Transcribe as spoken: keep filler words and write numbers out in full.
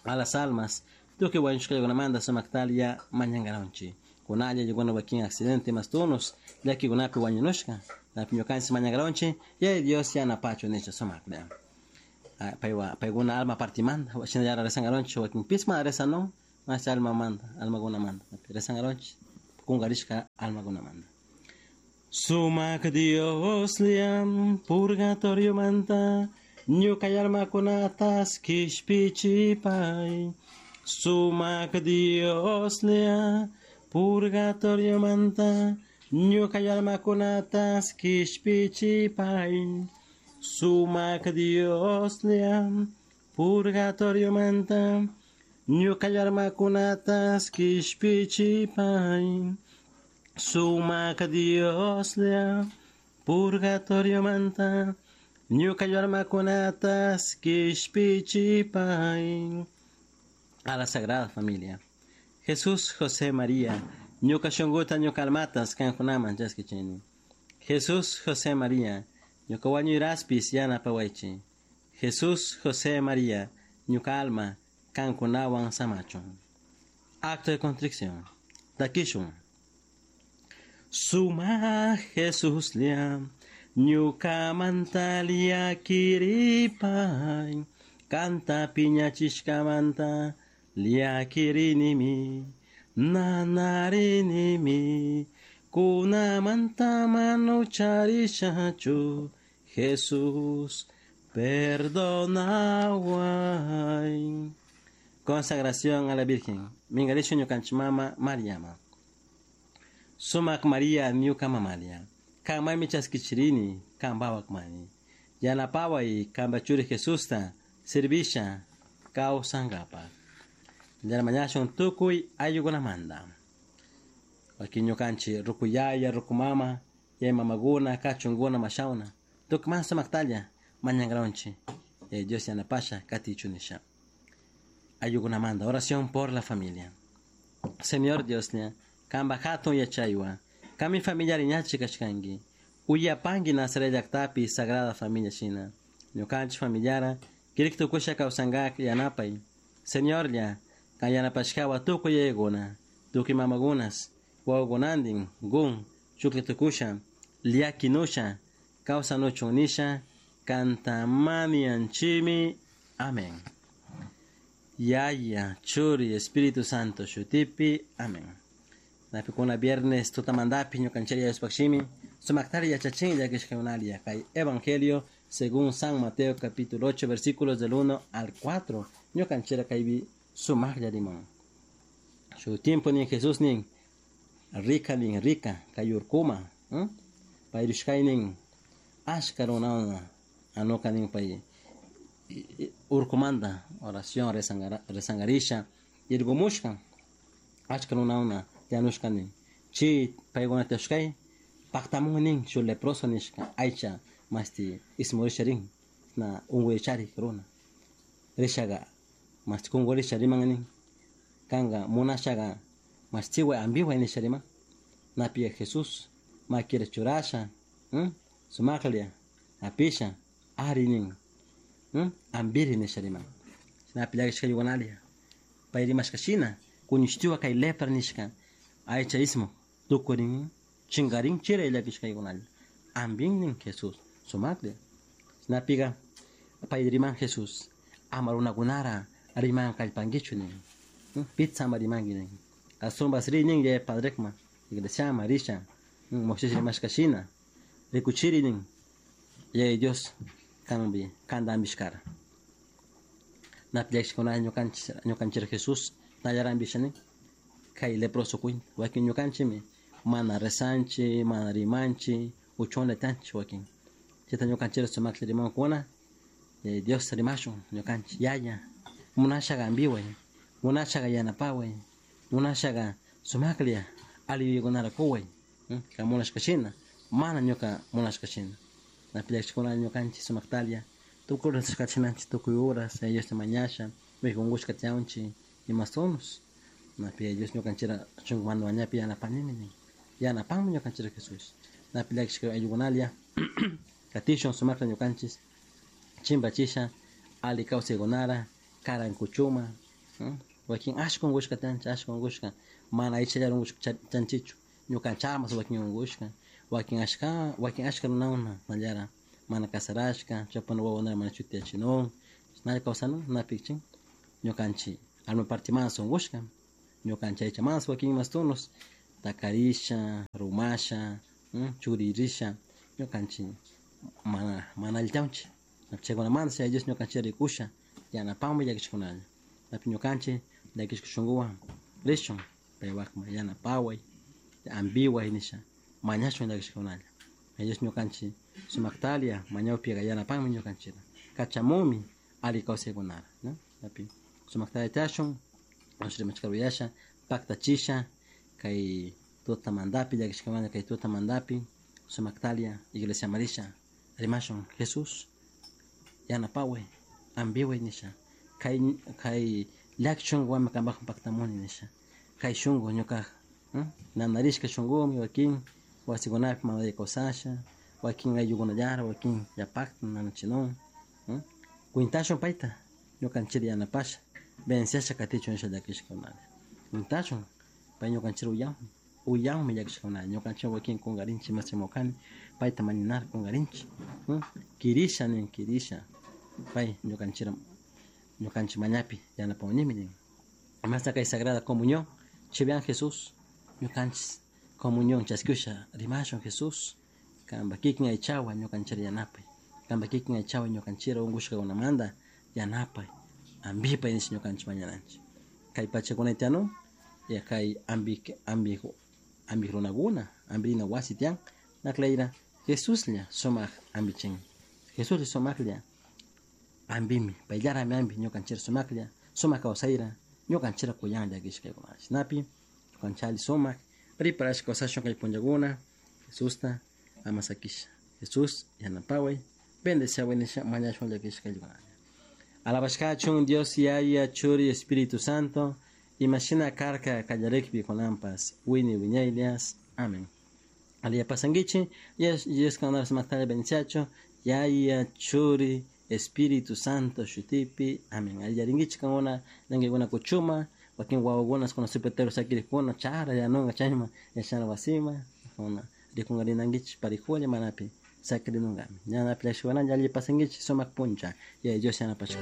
A las almas, tukuy wañushkakunamanta sumaktalia mañankaronchik. Kunalla yukuna wakin accidente mastunos, llakikunapi wañunushka, napi ñukanchik mañankaronchik, Yaya Dios yanapachu nisha sumaklla. Paywa paykuna alma partimanta, shinallara rezankaronchik wakinpis mana rezanun, mas almamanta, almakunamanta, rezankaronchik kunkarishka almakunamanta. Sumak Dioslla purgatoriomanta ñuka almakunatas kishpichipay. Sumak Dioslla purgatoriomanta ñuka almakunatas kishpichipay. Sumak Dioslla purgatoriomanta ñuka almakunatas kishpichipay. Sumak Dioslla purgatoriomanta ñuka almakunatas kishpichipay. A la Sagrada Familia. Jesús, José, María, ñuka shunkuta ñuka almatas kankunaman chaskichini. Jesús, José, María, ñuka wañuyraspis yanapawaychik. Jesús, José, María, ñuka alma kankunawan samachun. Acto de contrición. Takishun. Suma Jesuslla ñukamanta llakiripay, kanta piñachishkamanta llakirinimi, nanarinimi, kunamanta mana ucharishachu, Jesús, perdonaway. Consagración a la Virgen. Mingarisho ñukanchik mama Mariama. Sumak Maria ñuka mamalia. Kanmanmi chaskichirini, kanpawakmani. Yanapaway kanpa churi Jesusta servisha kawsankapak. Mañashun tukuy ayllukunamanta. Wakin ñukanchik ruku yaya, ruku mama, yaya mamakuna, kachunkuna, mashawna. Tukuy sumaktalla mañankaronchik. Dios yanapasha katichun nisha. Ayllukunamanta. Oración por la familia. Señor Dioslla, kanpa hatun yachaywan, kanmi familia riñachi kashkanki. Uyapanki Nazaret llaktapi Sagrada Familia shina. Ñukanchik familiara, kirik tukusha kawsankak yanapay. Señorlla, kan yanapashkawa tukuy yayakuna, tukuy mamakunas, wawakunantin, gun, chuklla tukusha, llakinusha, kawsanuchun nisha, kanta mañanchikmi. Amén. Yaya, Churi, Espíritu Santo, shutipi. Amén. Napikuna viernes tutamantapi ñukanchik Diospaj shimi sumaktari yachachin llakishkakunalia kay Evangelio según San Mateo capítulo ocho versículos del uno al cuatro ñukanchik kaypi sumaqlla riman. Shu tiempo nin Jesús nin rika nin rika kay urkuma, pay rishkay nin ashka runakuna anuka nin pay urkumanta oración rezangarisha irgumushka achka runakuna tiyanushka nin chi paykuna tiyashkay paktamun nin shu leproso nishka aycha masti ismurisha rin na unkuy charik runa rishaga masti kunkurisha riman nin kanka munashaga mastiway ambiway nisha riman napi Jesús makira churasha sumaklla apisha ari nin ambiri nisha riman napi llakishkaykunalia pay rimashka shina kuñushtiwa kay lepra nishka aycha ismuk tukurin chinkarin chiray llakishkaykunalla ambin nin Jesús sumaklla napiga pay riman Jesús ama runakunara riman kallpankichu nin pitsa ama rimanki nin ashwanpas ri nin yaya padrekman iglesiaman risha Moisés rimashka shina rikuchiri nin Yaya Dios kanpi kanta ambishkara napi llakishkuna ñukanchik ñukanchik Jesús nallara ambisha nin kay leproso cuenta wakin ñukanchikmi mana rezanchik mana rimanchik uchunlla tiyanchik wakin chayta ñukanchik sumaklla rimankuna Yaya Dios rimashun ñukanchik yaya munashaga ambiway munashaga yanapaway munashaga sumaklla alli yuyaykunara kuway kan munashka shina mana ñuka munashka shina napi llakishkuna ñukanchik sumaktalla tukuy rezashkachinanchik tukuy horas Yaya Diosta mañasha unkushka tiyanchik imastunos napi Yaya Dios ñukanchikta shunkumanta mañapi yanapanimi nin yanapanmi ñukanchik Jesús napi llakishka ayllukunalla katishun sumakta ñukanchik chimpachisha alli kawsaykunara karan kuchuma Wakin ashka unkushka tiyanchik, ashka unkushka mana aychallara unkushka chanchichu, ñukanchamas wakin unkushka, wakin ashka, wakin ashka runakuna nallara mana casarashka, chaypuna wawakunata mana chutiyachinun, nalla kawsanun napikchin ñukanchik alma parte mas unkushka, ñukanchik aycha mas wakin mas tunos takarisha, rumasha, churirisha, ñukanchik mana mana allitawanchik, chaykunamanta chay Dios ñukanchik rikusha yanapanmi llakishkunalla, napi ñukanchik llakishka shunkuwan rishun paywakman yanapaway, ambiway nisha mañashun llakishkunalla, Dios ñukanchik sumaktalia mañawpika yanapanmi ñukanchikta, kachamunmi alli kawsaykunata, ¿no? Napi sumaktalia tiyashun, rimashkata uyasha, paktachisha kay tutamantapi llakishkamanta kay tutamantapi sumaktalia iglesia marisha rimashun Jesús yanapaway ambiway nisha kay kay llaki shunkuwanmi kanpakman paktamuni nisha kay shunku ñuka nanarishka shunkumi wakin wasikunapi mana kawsasha wakin ayllukunallara wakin yapakta nanachinun kwintashun payta ñukanchikta yanapasha venciasha katichun nisha llakishkakunalla kwintashun pay ñukanchikta uyanmi uyanmi llakishkakunalla ñukanchik wakin kunkarinchik mas payta mañanar kunkarinchik kirisha nin kirisha pay ñukanchikta ñukanchik mañapi yanapawanimi nin masta kay sagrada comunión chivian Jesús ñukanchik comunión chaskusha rimashun Jesús kanpa kikin aychawan ñukanchikta yanapay kanpa kikin aychawan ñukanchikta unkushkakunamanta yanapay ambipay nisha ñukanchik mañananchik kay pachakunay tiyanun ya kay ambi ambi ambi runakuna ambirina wasi tiyan naklayra Jesuslla sumak ambichin Jesuslla sumaklla ambimi payllarami ambi ñukanchikta sumaklla sumak kawsayra ñukanchikta kuyanlla kishkaykuna chashnapi ñukanchik alli sumak preparashka kawsashun kay punllakuna Jesusta ama sakisha Jesús yanapaway bendeciaway nisha mañashun llakishkaykuna Alabashkachun Dios Yaya Churi Espíritu Santo imashina karka kallarikpi kunanpas wini wiñaylias amén Aliya pasankichik Dios kankunata sumaktalla bendiciachu Yaya Churi Espíritu Santo shutipi amén Allillarinkichik kankuna llankaykunata kuchuma wakin wawakuna kuna supetero sakirikuna chara yanunka chayman yachana wasiman kuna rikunkarinankichik parijulla manapi sakirinunkami ñanapi llakishkakunalla alli pasankichik sumak puncha Yaya Dios yanapashka.